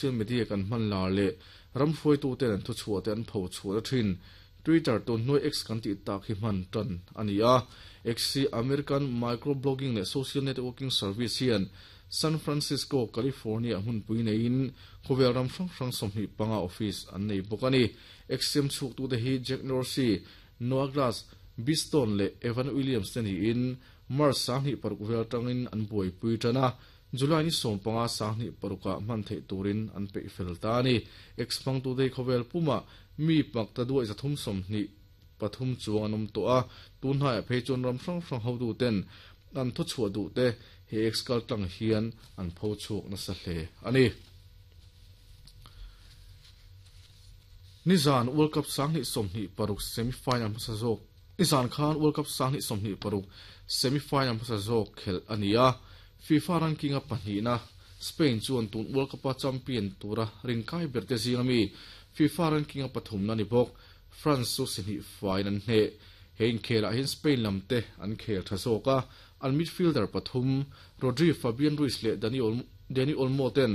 Social media kan hman lar leh ram hruaituten an thuchhuah te an pho chhuah thin. Twitter tun hnuai X kan tih tak hi hman tan a ni a. X hi American microblogging leh social networking service hian San Francisco, California hmunpui neiin khawvel ram hrang hrang 25 office an nei bawk a ni. X siam chhuaktute hi Jack Dorsey, Noah Glass, Biz Stone leh Evan Williams te niin March 2006 vel atangin an buaipui tan a. July ni 15 2006 ah hman theih turin an peih fel ta a ni. X hmangtute hi khawvel pumah mi pak ta duai 323 chuang an awm tawh a, tun hnaiah phei chuan ram hrang hrang hotuten an thuchhuah duh te he X kal tlang hian an pho chhuak nasa hle a ni. Nizan World Cup 2026 semi-final hmasa zawk Nizan khan World Cup 2026 semi-final hmasa zawk khelh a ni a, FIFA ranking a pahnihna Spain chuan tun World Cup-a champion tura rinkai ber te zinga mi FIFA ranking a pathumna ni bawk France chu si hnih faiin an hneh. He inkhelah hian Spain lam te an khel tha zawk a, an midfielder pathum Rodri, Fabian Ruiz leh Dani Olmo ten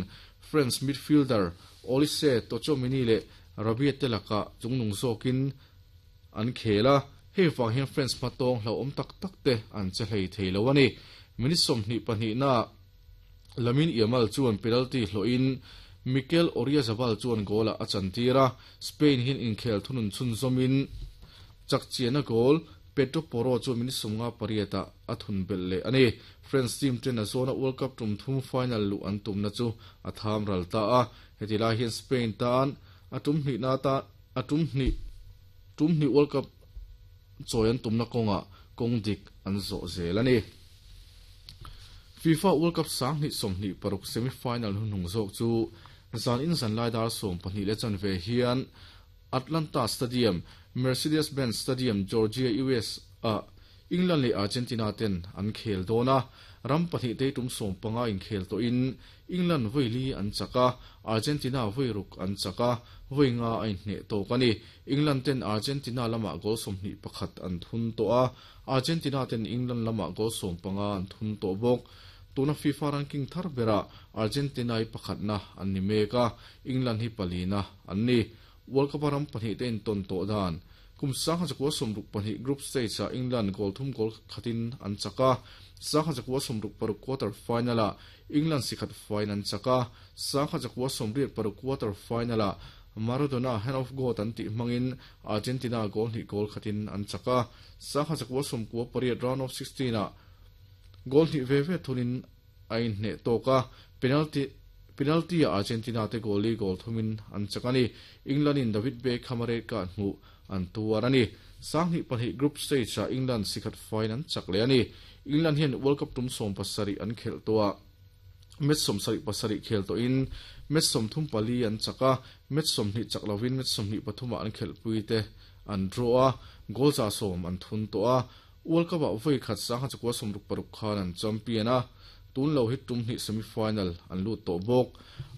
France midfielder Olise, Tchouameni leh Rabiot te lakah chungnung zawkin an khel a, hei vang hian France hmatawng hlauhawm tak tak te an che hlei thei lo a ni. Minute 22 ah Lamine Yamal chuan penalty hlawhin Mikel Oyarzabal chuan goal ah a chantir a, Spain hian inkhel thunun chhunzawmin chakchiahna goal Pedro Porro chuan minute 58 ah a thun belh leh a ni. France team ten a zawna World Cup tum thum final luh an tumna chu a tham ral ta a, heti lai hian Spain tan a tum hnihna tan a tum hnih tum hnih World Cup chawi an tumna kawngah kawng dik an zawh zel a ni. FIFA World Cup 2026 semi-final hnuhnung zawk chu zan in zan lai dar 12:15 hian Atlanta Stadium, Mercedes-Benz Stadium, Georgia, US ah England leh Argentina ten an khel dawn a, ram pahnih te tum 15 inkhel tawhin England vawi li an chak a, Argentina vawi ruk an chak a, vawi nga a inhneh tawk a ni. England ten Argentina lamah goal 21 an thun tawh a, Argentina ten England lamah goal 15 an thun tawh bawk. Tuna FIFA ranking thar berah Argentina hi pakhatna an ni mek a, England hi palina an ni. World Cup a ram pahnih te intawn tawh dan kum 1962 group stage ah England goal thum goal khatin an chak a, 1966 quarter final ah England si khat faiin an chak a, 1986 quarter final ah Maradona hand of God an tih hmangin Argentina goal hnih goal khatin an chak a, 1998 round of 16 ah goal hnih ve ve thunin a inhneh tawk a, penalty penalty ah Argentina te goal li goal thumin an chak a ni. England in David Beckham a red card hmuh an tuar a ni. 2002 group stage ah England si khat faiin an chak leh a ni. England hian World Cup tum 17 an khelh tawh a, match 77 khel tawhin match 34 an chak a, match 20 chak lovin match 23 ah an khelhpui te an draw a, goal 100 an thun tawh a. World Cup ah vawi khat 1966 khan an champion a, tun lo hi tum hnih semi-final an lut tawh bawk.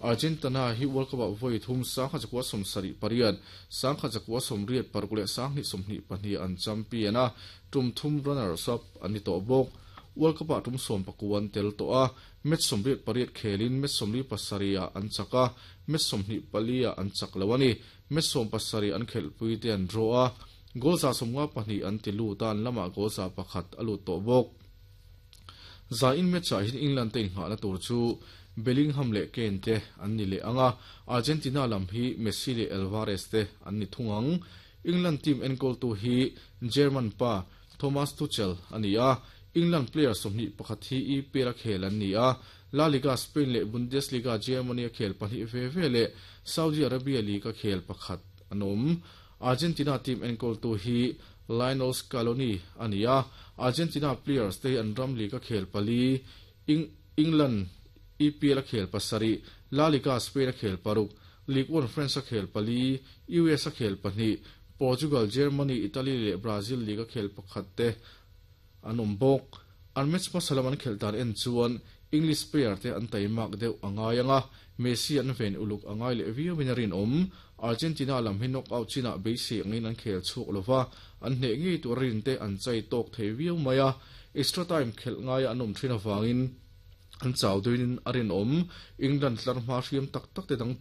Argentina hi World Cup ah vawi thum 1978, 1986 leh 2022 an champion a, tum thum runners up an ni tawh bawk. World Cup ah tum 19 an tel tawh a, match 88 khelin match 47 ah an chak a, match 24 ah an chak lo a ni. Match 17 an khelhpui te an draw a, goal 152 an ti lut a, an lamah goal 101 a lut tawh bawk. Za in match ah hian England te inghahna tur chu Bellingham leh Kane te an ni leh ang a, Argentina lam hi Messi leh Alvarez te an ni thung ang. England team enkawltu hi German pa Thomas Tuchel a ni a, England player 21 hi EPL a khel an ni a, La Liga Spain leh Bundesliga Germany a khel pahnih ve ve leh Saudi Arabia League a khel pakhat an awm. Argentina team enkawltu hi Lionel Scaloni a ni a, Argentina players te hi an ram league a khel pali, England EPL a khel pasarih, La Liga Spain a khel paruk, Ligue 1 France a khel pali, US a khel pahnih, Portugal, Germany, Italy leh Brazil league a khel pakhat te an awm bawk. An match hmasa lam an khelh dan en chuan English player te an taimak deuh a ngai ang a, Messi an ven uluk a ngai leh viauin a rinawm. Argentina lam hi knockout chinah beisei angin an khel chhuak lova, an hneh ngei tur a rin te an chai tawk thei viau mai a, extra time khelh ngaia an awm thin avangin. An chau duinin a rinawm. England tlarhma hriam tak tak te dang.